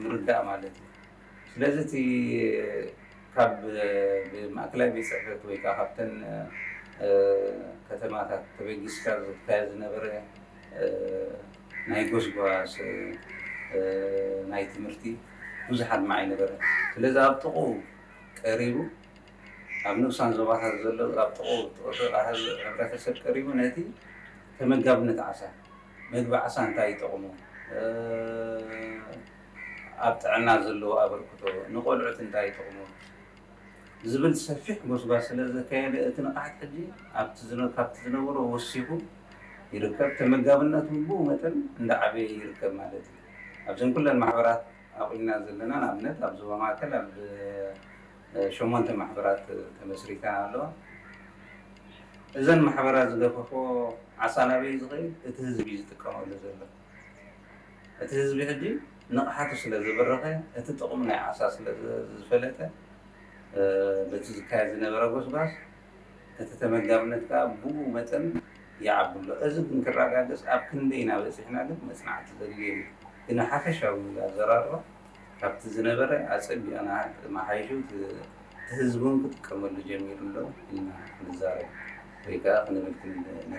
ምርዳእ ማለት እዩ። ስለዚ እቲ ካብ ብማእከላይ ቤት ፅሕፈት ወይ ከዓ ካብተን ከተማታት ተበጊስካ ዝካየድ ዝነበረ ናይ ጎስጓስ ናይ ትምህርቲ ብዙሕ ኣድማዒ ነበረ። ስለዚ ኣብ ጥቕኡ ቀሪቡ፣ ኣብ ንኡሳን ዞባታት ዘሎ ኣብ ጥቕኡ ህብረተሰብ ቀሪቡ ነቲ ተመጋብነት ዓሳ፣ መግቢ ዓሳ እንታይ ይጠቕሙ፣ ኣብ ጥዕና ዘለዎ ኣበርክቶ፣ ንቆልዑት እንታይ ይጠቕሙ ዝብል ሰፊሕ ጎስጓስ ስለ ዘካየደ፣ እቲ ንቕሓት ሕጂ ኣብቲ ዝነ- ካብቲ ዝነበሮ ወሲኹ ይርከብ። ተመጋብነቱ ብኡ መጠን እንዳዓበየ ይርከብ ማለት እዩ። ኣብዘን ኩለን ማሕበራት ኣብኢልና ዘለና፣ ንኣብነት ኣብ ዞባ ማእከል ኣብ ሸሞንተ ማሕበራት ተመስሪተን ኣለዋ። እዘን ማሕበራት ዝገፈፎ ዓሳ ናበይ ዝኸይድ? እቲ ህዝቢ እዩ ዝጥቀመሉ ዘሎ። እቲ ህዝቢ ሕጂ ንቕሓቱ ስለ ዝበረኸ፣ እቲ ጥቕሚ ናይ ዓሳ ስለ ዝፈለጠ፣ በቲ ዝካየድ ዝነበረ ጎስጓስ እቲ ተመጋብነት ከዓ ብኡ መጠን ይዓቢ ኣሎ። እዚ ግን ክረጋገፅ ኣብ ክንደይ ኢና በፂሕና ግን መፅናዕቲ ዘድልዮ እዩ። ግን ሓፈሻዊ ኣዘራርባ ካብቲ ዝነበረ ኣፀቢቕና መሓይሹ እቲ ህዝቢ እውን ክጥቀመሉ ጀሚሩ ኣሎ ኢልና ክንዛረብ ወይ ከዓ ክንብል